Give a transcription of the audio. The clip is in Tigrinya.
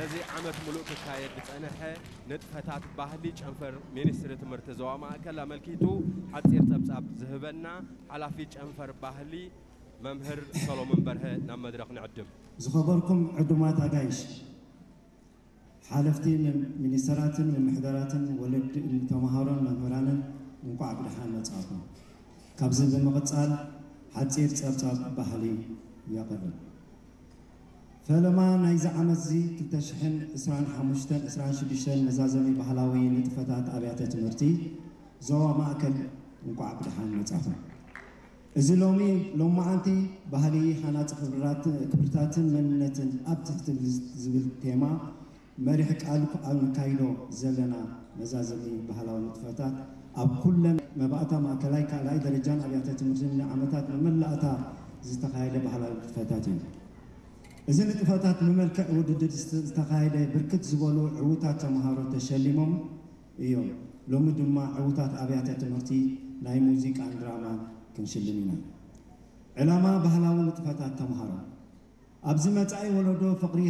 ነዚ ዓመት ሙሉእ ክካየድ ዝጸንሐ ንጥፈታት ባህሊ ጨንፈር ሚኒስትሪ ትምህርቲ ዞባ ማእከል ኣመልኪቱ ሓጺር ጸብጻብ ዝህበና ሓላፊ ጨንፈር ባህሊ መምህር ሰሎሞን በርሀ ናብ መድረኽ ንዕድም። ዝኸበርኩም ዕዱማት ኣጋይሽ፣ ሓለፍቲ ሚኒስተራትን ምምሕዳራትን ወለዲ ተምሃሮን መምህራንን እንቋዕ ብደሓን መጻእኩም። ካብዚ ብምቕጻል ሓጺር ጸብጻብ ባህሊ የቕርብ። ፈለማ ናይዚ ዓመት እዚ ክልተ ሽሕን ዕስራን ሓሙሽተን ዕስራን ሽዱሽተን መዛዘሚ ባህላዊ ንጥፈታት ኣብያተ ትምህርቲ ዞባ ማእከል እንቋዕ ብደሓን መጻኹም። እዚ ሎሚ ሎማዓንቲ ባህሊ ሃናጺ ክብርታትን መንነትን ኣብ ትሕቲ ዝብል ቴማ መሪሕ ቃል ኣብ ነካይዶ ዘለና መዛዘሚ ባህላዊ ንጥፈታት ኣብ ኩለን መባእታ ማእከላይ ካልኣይ ደረጃን ኣብያተ ትምህርትን ንዓመታት መመላእታ ዝተኻየደ ባህላዊ ንጥፈታት እዩ። እዚ ንጥፈታት ብመልክዕ ውድድር ዝተኻየደ ብርክት ዝበሉ ዕዉታት ተምሃሮ ተሸሊሞም እዮም። ሎሚ ድማ ዕዉታት ኣብያተ ትምህርቲ ናይ ሙዚቃን ድራማን ክንሽልም ኢና። ዕላማ ባህላዊ ንጥፈታት ተምሃሮ ኣብዚ መጻኢ ወለዶ ፍቕሪ